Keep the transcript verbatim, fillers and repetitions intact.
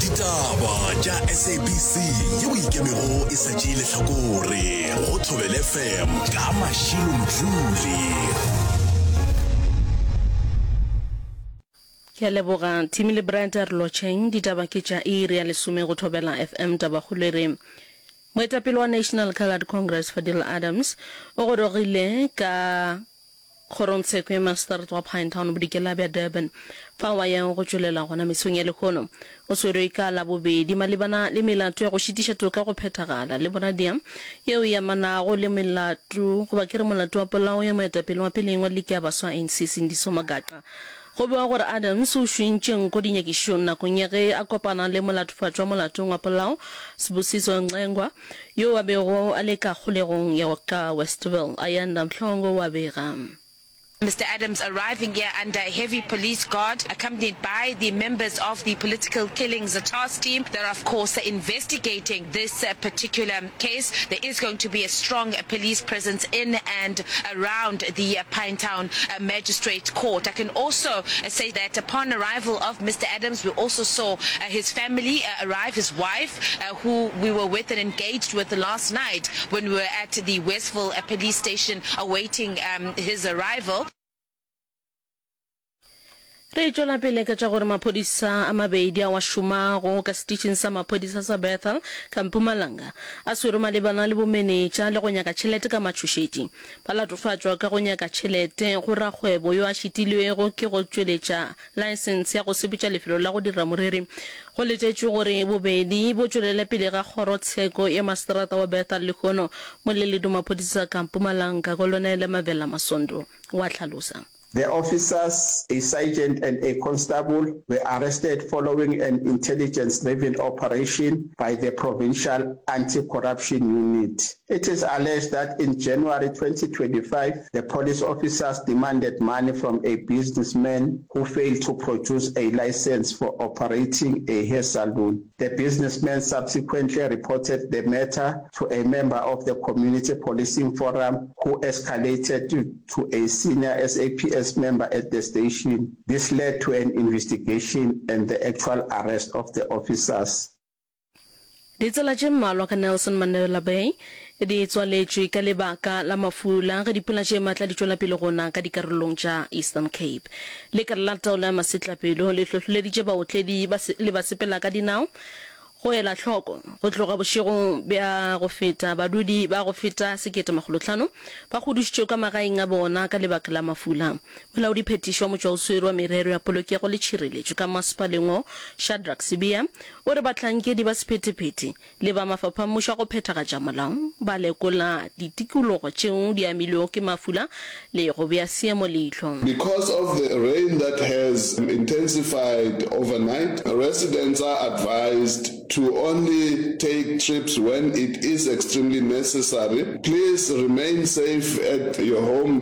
Ditaba tša SABC yeo ikemego e sa tšee lehlakore go Thobela FM ka Mashilo Mdluli. Ke a leboga Timmy le Brad a re lotšheng. Ditaba ke tša iri ya lesome go Thobela FM. Tabakgolo e re Moetapele wa National Coloured Congress Fadil Adams o gorogile ka Kgorongtsheko ya Magistrate wa Pinetown bodikela bja Durban fao a yago go tšwelela gona mesong ya lehono. O swerwe ka Labobedi malebana le melato ya go šitiša toka go phethagala le boradia yeo e amanago le melato goba ke re molato wa polao ya moetapele wa peleng wa liki ya baswa A N C Sindiso Magaqa. Go bewa gore Adams o šwentše nko dinyakišišong nakong ya ge a kopana le molatofatšwa molatong wa polao Sibusiso Ncengwa yo a bego a le ka kgolegong ya ka Westville. Ayanda Mhlongo o a bega. Mister Adams arriving here under heavy police guard, accompanied by the members of the Political Killings Task Team that are of course investigating this particular case. There is going to be a strong police presence in and around the Pinetown Magistrate Court. I can also say that upon arrival of Mister Adams, we also saw his family arrive, his wife, who we were with and engaged with last night when we were at the Westville Police Station awaiting um, his arrival. Re tšwela pele ka tša gore maphodisa a mabedi ao a šomago ka setišing sa maphodisa sa Bethal ka Mpumalanga a swerwe malebana le bomenetša le go nyaka tšhelete ka matšhošetši. Ba latofatšwa ka go nyaka tšhelete go rakgwebo yo a šitilwego ke go tšweletša laesense ya go sepetša lefelo la go dira moriri. Go letetšwe gore bobedi bo tšwelele pele ga kgorotsheko ya maseterata wa Bethal lehono. Moleledi wa maphodisa ka Mpumalanga, Kolonele Mavela Masondo o a hlalosa. The officers, a sergeant and a constable, were arrested following an intelligence-driven operation by the Provincial Anti-Corruption Unit. It is alleged that in January twenty twenty-five, the police officers demanded money from a businessman who failed to produce a license for operating a hair salon. The businessman subsequently reported the matter to a member of the Community Policing Forum who escalated to, to a senior S A P S member at the station. This led to an investigation and the actual arrest of the officers. Ditsela tše mmalwa ka Nelson Mandela Bay di tswaletšwe ka lebaka la mafula ge dipula tše matla di tšwela pele go na ka dikarolong tša Eastern Cape. Lekala la taolo ya masetlapelo le hlohleleditše baotledi le basepela ka dinao go ela hloko. Go tloga bošegong bja go feta, badudi ba go feta sekete makgolo hlano ba hudušitšwe ka magaeng a bona ka lebaka la mafula. Molaodiphethiši wa motšwaoswere wa merero ya polokego le tšhireletšo ka masepaleng wo, Shadrack Sibiya, o re bahlankedi ba sephethephethe le ba mafapha a mmušo a go phethagatša molao ba lekola ditikologo tšeo di amilwego ke mafula le go bea seemo leihlo. Because of the rain that has intensified overnight, residents are advised to only take trips when it is extremely necessary. Please remain safe at your home.